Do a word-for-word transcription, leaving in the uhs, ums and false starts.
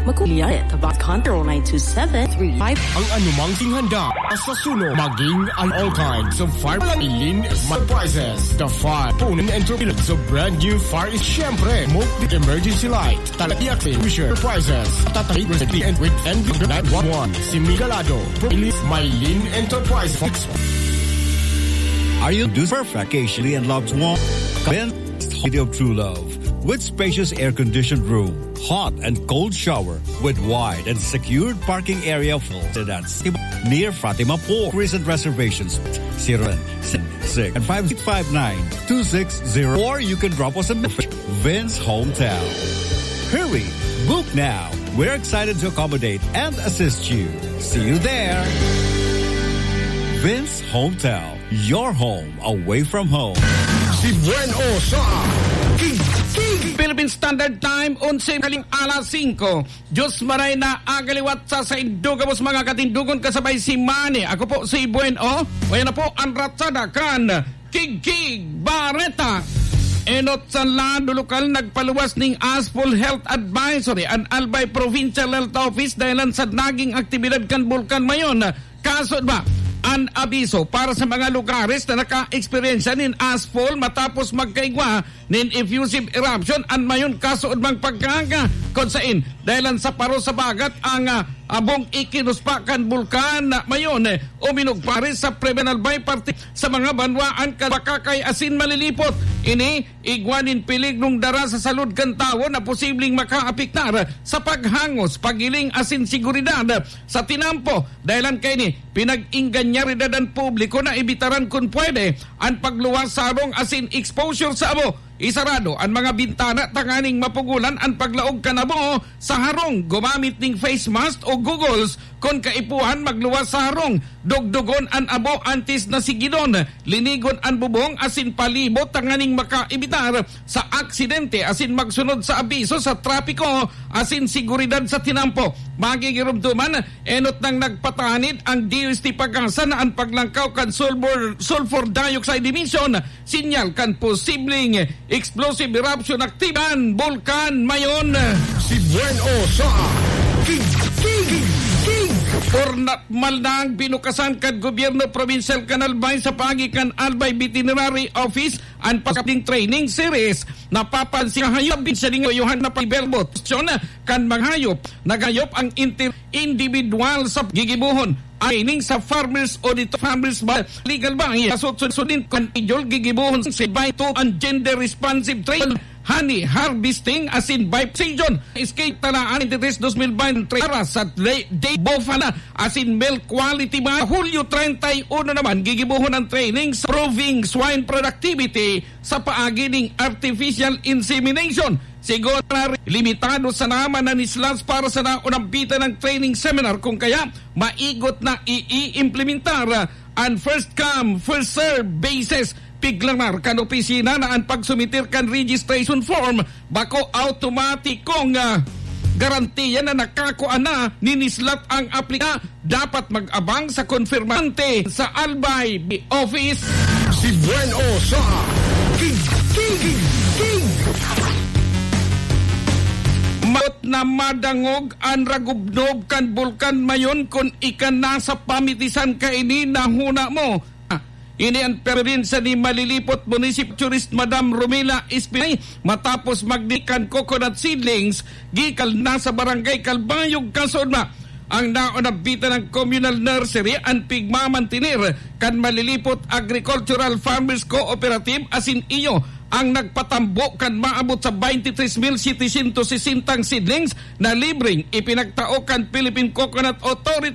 Makuliya, Tabas Control nine two seven three five. Ang anumang tinghanda sa suno, maging ang all kinds of fire, Maylin Enterprises, the fire, punan and turbulence of brand new fire is siyempre, multi emergency light, talatiak sa Enterprises, tatay, and with N V nine one one, si Migalado, Maylin Enterprises. Are you due for vacation and loved one? Then, City of True Love, with spacious air-conditioned room, hot and cold shower, with wide and secured parking area for that's near Fatima Port. Recent reservations, zero seven six and five six five nine two six zero, or you can drop us a message. Vince Hometown. Hurry, book now. We're excited to accommodate and assist you. See you there. Vince Hometown, your home away from home. Si Buen O sa King King. Philippine Standard Time, onse kaling alas singko. Diyos maray na agaliwat sa saindo gabos, mga katindogon, kasabay si Manny. Ako po si Buen O. O, yan na po ang ratsada kan Kigkig Bareta. Enot sa lado lokal nagpaluwas ning ASPOL Health Advisory an Albay Provincial Health Office dahilan sa naging aktibidad kan Bulkan Mayon. Kaso ba, an abiso para sa mga lugares na naka-eksperyensya nin ASPOL matapos magkaigwa nin effusive eruption an Mayon kaso man pagkaaga, kun sain dahilan sa paro sa bagat ang, ah, abong ikinuspa kan Bulkan Mayon, eh, uminog pares sa Prebenal Bay parte sa mga banwaan kan Bacacay asin Malilipot. Ini igwa nin peligrong dara sa salud kan tawo na posibleng makaapektar sa paghangos, paghiling asin seguridad sa tinampo. Dahilan kaini, pinag-ingganyaridad an publiko na ibitaran kun pwede an pagluwas sa harong asin exposure sa abo. Isarado an mga bintana tanganing mapugolan an paglaog kan abo sa harong. Gumamit nin face mask o goggles kun kaipuhan magluwas sa harong. Dugdugon an abo antes na sigidon. Linigon an bubong asin palibot tanganing makaibitar sa aksidente asin magsunod sa abiso sa trapiko asin seguridad sa tinampo. Magigiromdoman, enot nang nagpatanid ang D O S T PAGASA na an paglangkaw kan sulfur, sulfur dioxide emission sinyal kan posibleng explosive eruption aktibo kan Bulkan Mayon. Si Buen O sa King King King. Pormal nang binukasan kan gobyerno probinsyal kan Albay sa paagi kan Albay Veterinary Office an pagkapling training series. Napapansin na hayop, binsaling Johan na pag-, kan mga hayop, naghayop ang inter-, individual sa gigibohon. Aning sa Farmers Audit, Farmers ba, legal ba? Iya, so, so, so, din, kan idol, gigibohon si Baito, ang gender responsive training, honey harvesting, asin by precision. Escape talaan, twenty-three, twenty twenty-three, para sa le-, day bofana, asin milk quality ba? Hulyo treinta y uno naman, gigibohon ang training sa proving swine productivity sa paagi ning artificial insemination. Siguro na limitado sa naman na nislas para sa naunampitan ng training seminar, kung kaya maigot na iimplementar, ah, an first come, first serve basis. Piglanar kan opisina na an pagsumitir kan registration form bako automatikong, ah, garantiya na nakakua na nin nislas ang aplika. Dapat mag-abang sa konfirmante sa Albay Office. Si Buen O sa King King King. Maot na madangog an ragubnob kan Bulkan Mayon kun ika na sa pamitisan kaini na huna mo. Ini an perensya ni Malilipot Municipal Tourist Madam Romila Espinay matapos magdi kan coconut seedlings gikan na sa Barangay Calbayog, Casoodma. Ang naunampitan ng communal nursery an pigmamantener kan Malilipot Agricultural Farmers Cooperative asin iyo ang nagpatambo kan maabot sa twenty-three mil setecientos sesenta seedlings na libreng ipinagtao kan Philippine Coconut Authority.